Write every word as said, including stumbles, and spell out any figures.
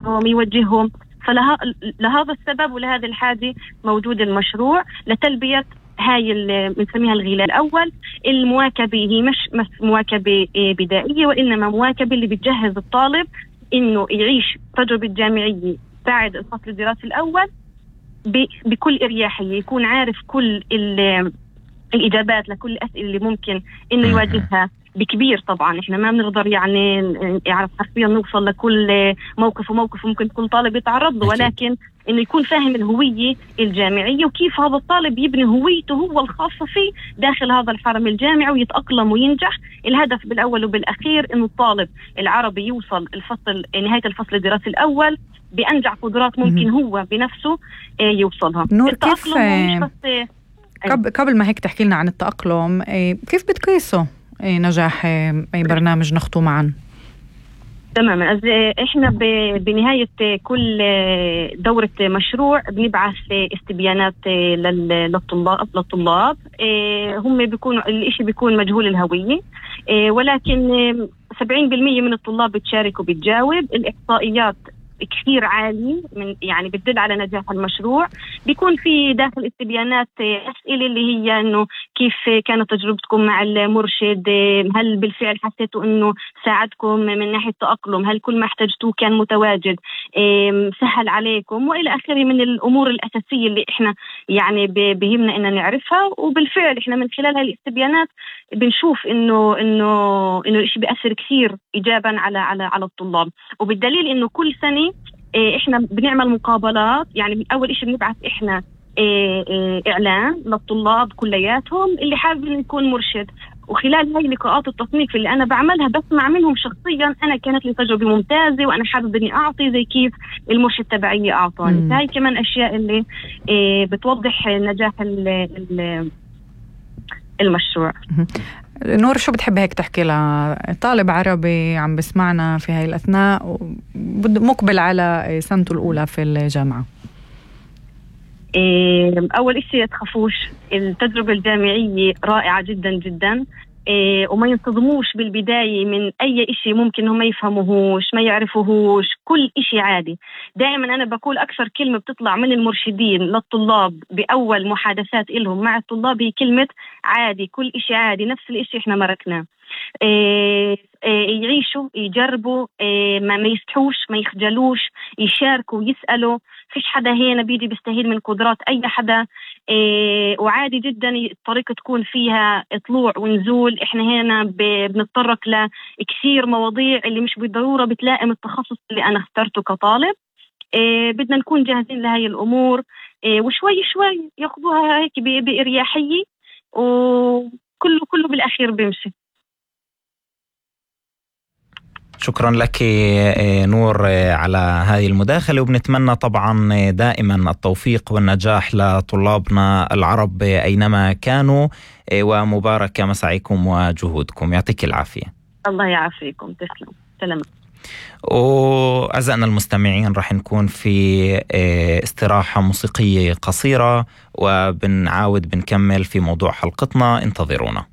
يوجههم. فلهذا السبب ولهذا الحاجة موجود المشروع لتلبية هاي اللي بنسميها الغلاء الأول. المواكبة هي مش مواكبة بدائية، وإنما مواكبة اللي بتجهز الطالب إنه يعيش تجربة جامعية بعد الفصل الدراسي الأول بكل إريحية، يكون عارف كل الإجابات لكل الأسئلة اللي ممكن إنه يواجهها بكبير. طبعا إحنا ما بنقدر يعني يعرف حرفيا نوصل لكل موقف وموقف ممكن كل طالب يتعرض له، ولكن إنه يكون فاهم الهوية الجامعية وكيف هذا الطالب يبني هويته هو الخاصة فيه داخل هذا الحرم الجامعي ويتأقلم وينجح. الهدف بالأول وبالأخير إنه الطالب العربي يوصل الفصل نهاية الفصل الدراسي الأول بأنجح قدرات ممكن هو بنفسه يوصلها. نور، كيف قبل قبل ما هيك تحكي لنا عن التأقلم، كيف بتقيسوا نجاح أي برنامج نخطو معا؟ تماما. احنا بنهاية كل دورة مشروع بنبعث استبيانات للطلاب للطلاب هم بيكونوا الاشي بيكون مجهول الهوية، ولكن سبعين بالمية من الطلاب بتشارك وبتجاوب. الإحصائيات كثير عالي من يعني بتدل على نجاح المشروع. بيكون في داخل استبيانات أسئلة اللي هي إنه كيف كانت تجربتكم مع المرشد، هل بالفعل حسيتوا إنه ساعدكم من ناحية تأقلم، هل كل ما احتجتوه كان متواجد، سهل عليكم، وإلى آخره من الأمور الأساسية اللي إحنا يعني بهمنا إن نعرفها. وبالفعل إحنا من خلال هاي الاستبيانات بنشوف إنه إنه إنه الإشي بيأثر كثير إيجابا على على على الطلاب. وبالدليل إنه كل سنة إحنا بنعمل مقابلات. يعني أول إشي بنبعث إحنا إعلان للطلاب كلياتهم اللي حابب إنه يكون مرشد، وخلال هاي لقاءات التصنيف اللي أنا بعملها بسمع منهم شخصيا أنا كانت لي تجربة ممتازة وأنا حابب إني أعطي زي كيف المرشد تبعي أعطاني. هاي كمان أشياء اللي بتوضح نجاح المشروع. نور، شو بتحب هيك تحكي لطالب عربي عم بسمعنا في هاي الأثناء مقبل على سنته الأولى في الجامعة؟ أول إشي تخافوش، التجربة الجامعية رائعة جدا جدا، وما ينصدموش بالبداية من أي إشي ممكن هم ما يفهموهوش ما يعرفوهوش. كل إشي عادي. دائما أنا بقول أكثر كلمة بتطلع من المرشدين للطلاب بأول محادثات إلهم مع الطلاب هي كلمة عادي. كل إشي عادي، نفس الإشي إحنا مركناه. يعيشوا، يجربوا، ما يستحوش، ما يخجلوش، يشاركوا، يسألوا. فيش حدا هنا بيجي بيستهين من قدرات أي حدا، وعادي جدا الطريقة تكون فيها طلوع ونزول. إحنا هنا بنتطرق لكثير مواضيع اللي مش بالضرورة بتلائم التخصص اللي أنا اخترته كطالب. بدنا نكون جاهزين لهاي الأمور، وشوي شوي ياخدوها هيك بإريحية، وكله كله بالأخير بيمشي. شكرا لك نور على هذه المداخلة، وبنتمنى طبعا دائما التوفيق والنجاح لطلابنا العرب أينما كانوا، ومبارك مساعيكم وجهودكم. يعطيك العافية. الله يعافيكم. تسلم. سلام. وأعزائنا المستمعين رح نكون في استراحة موسيقية قصيرة وبنعاود بنكمل في موضوع حلقتنا. انتظرونا.